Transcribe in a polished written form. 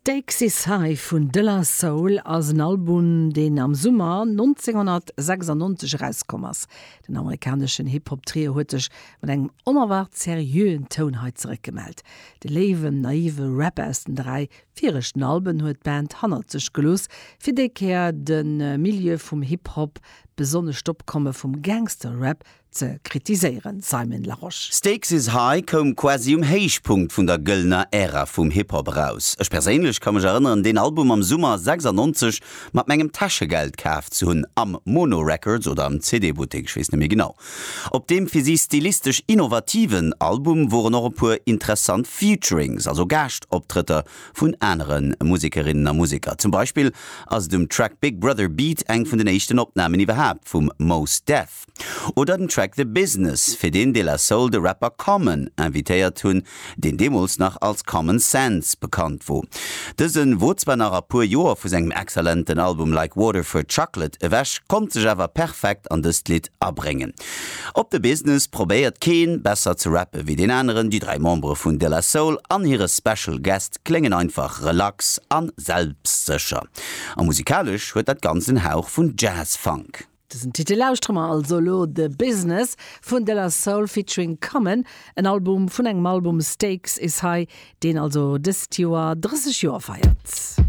Stakes Is High vun De La Soul ass en Album, deen am Summer 1996 erauskomm ass. Den amerikaneschen Hip-Hop-Trio huet sech mat engem onerwaart seriöen Toun hei zeréckgemellt. De léiwen, naive Rap aus den 3 viregten Alben huet d'Band hannert sech gelooss, fir déi Kéier de Milieu vum Hip-Hop, besonnesch d'Opkomme vum Gangster-Rap, ze kritiséieren, Simon Larosche. Stakes is High koum quasi um Héichpunkt vun der gëllener Ära vum Hip-Hop eraus. Ech perséinlech ka mech erënneren deen Album am Summer 96 mat mengem Täschegeld kaf ze hunn, am Mono Records oder am CD-Buttek, ech weess net méi genau. Op deem fir si stilistesch innovativen Album woren och e puer interessant Featurings, also Gaaschtoptrëtter vun anere Musekerinnen a Museker. Zum Beispill ass et um Track Big Brother Beat eng vun den éischten Opnamen iwwerhaapt vum Mos Def. Oder den Track The Business, fir deen De La Soul de Rapper Common invitéiert hunn, deen deemools nach als Common Sense bekannt wor. Dëse wor zwar nach a puer Joer vu sengem exzellenten Album Like Water for Chocolate ewech, konnt sech awer perfekt an dëst Lidd abréngen. Op The Business probéiert keen besser ze rappe wéi deen aneren, déi 3 Membere vun De La Soul an hire Special Guest kléngen einfach relax a selbstsécher. A musikalesch huet dat Ganzt en Hauch vun Jazz-Funk. Dësen Titel lauschtere mer also elo, The Business vun De La Soul featuring Common, en Album vun engem Album Stakes Is High, deen also dëst Joer 30 Joer feiert.